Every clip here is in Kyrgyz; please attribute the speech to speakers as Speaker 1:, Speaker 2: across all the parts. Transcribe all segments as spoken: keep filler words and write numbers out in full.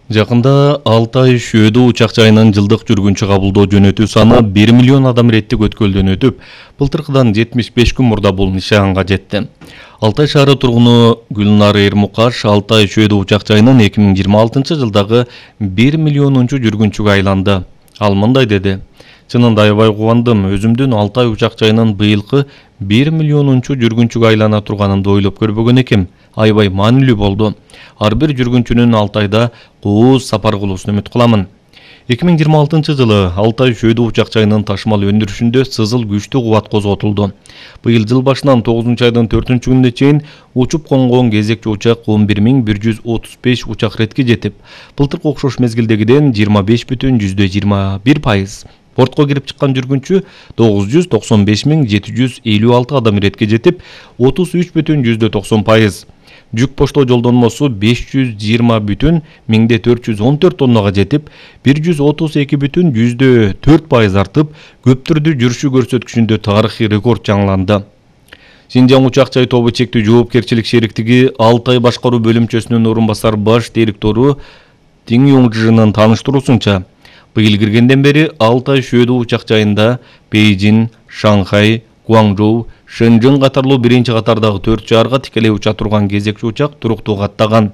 Speaker 1: Жакында Алтай Шөөдө учак жайынан жылдык жүргүнчү кабылдоо жөнөтүү саны бир миллион адам реттик өткөлдөн өтүп, былтыркыдан жетимиш беш күн мурда бул нишанга жетти. Алтай шаары тургуну Гүлнар Эрмукаш Алтай Шөөдө учак жайынан эки миң жыйырма алтынчы жылдагы бир миллионунчу жүргүнчүгө айланды. Ал мындай деди: "Чынында аябай кубандым. Өзүмдүн Алтай учак жайынан быйылкы бир миллионунчу жүргүнчүгө айлана турганымды ойлоп көрбөгөн экем. Аябай маанилүү болду. Ар бир жүргүнчүнүн Алтайда кооз сапар кылуусун үмүт кыламын." эки миң жыйырма алтынчы жылы Алтай Шөөдө учак жайынын ташмал өндүрүшүндө сызыл күчтүү кубат козготулду. Быйыл жыл башынан тогузунчу айдын төртүнчү күнүнө чейин учуп конгон кезекчи учак он бир миң бир жүз отуз беш учак ретке жетип, былтыркы окшош мезгилдегиден жыйырма беш бүтүн жүздө жыйырма бир пайыз. Портко кирип чыккан жүргүнчү тогуз жүз токсон беш миң жети жүз элүү алты адам ретке жетип, отуз үч бүтүн жүздө токсон пайыз. Жүк поштоо жолдонмосу беш жүз жыйырма бүтүн миңде төрт жүз он төрт тоннага жетип, бир жүз отуз эки бүтүн жүздө төрт пайыз артып, көптүрдүү жүрүшү көрсөткүчүндө тарыхый рекорд жаңыланды. Шинжаң учак жай тобу чектүү жоопкерчилик шериктиги Алтай башкаруу бөлүмчөсүнүн орун басар баш директору Тиң Юңжынын тааныштыруусунча, быйыл киргенден бери Алтай Шөөдө учак жайында Бейжин, Шанхай, Гуаңжоу, Шэньчжэн катарлуу биринчи катардагы төрт шаарга тикелей уча турган кезекчи учак туруктуу каттаган.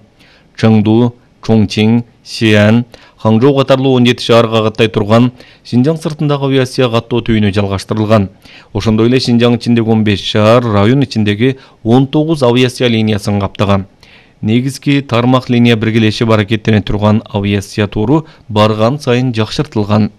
Speaker 1: Чыңду, Чоңчиң, Сиан, Хаңжоу катарлуу он жети шаарга каттай турган Шинжаң сыртындагы авиация каттоо түйүнү жалгаштырылган. Ошондой эле Шинжаң ичиндеги он беш шаар, район ичиндеги он тогуз авиация линиясын каптаган. Негизги тармак линия биргелешип аракеттене турган авиация туру барган сайын жакшыртылган.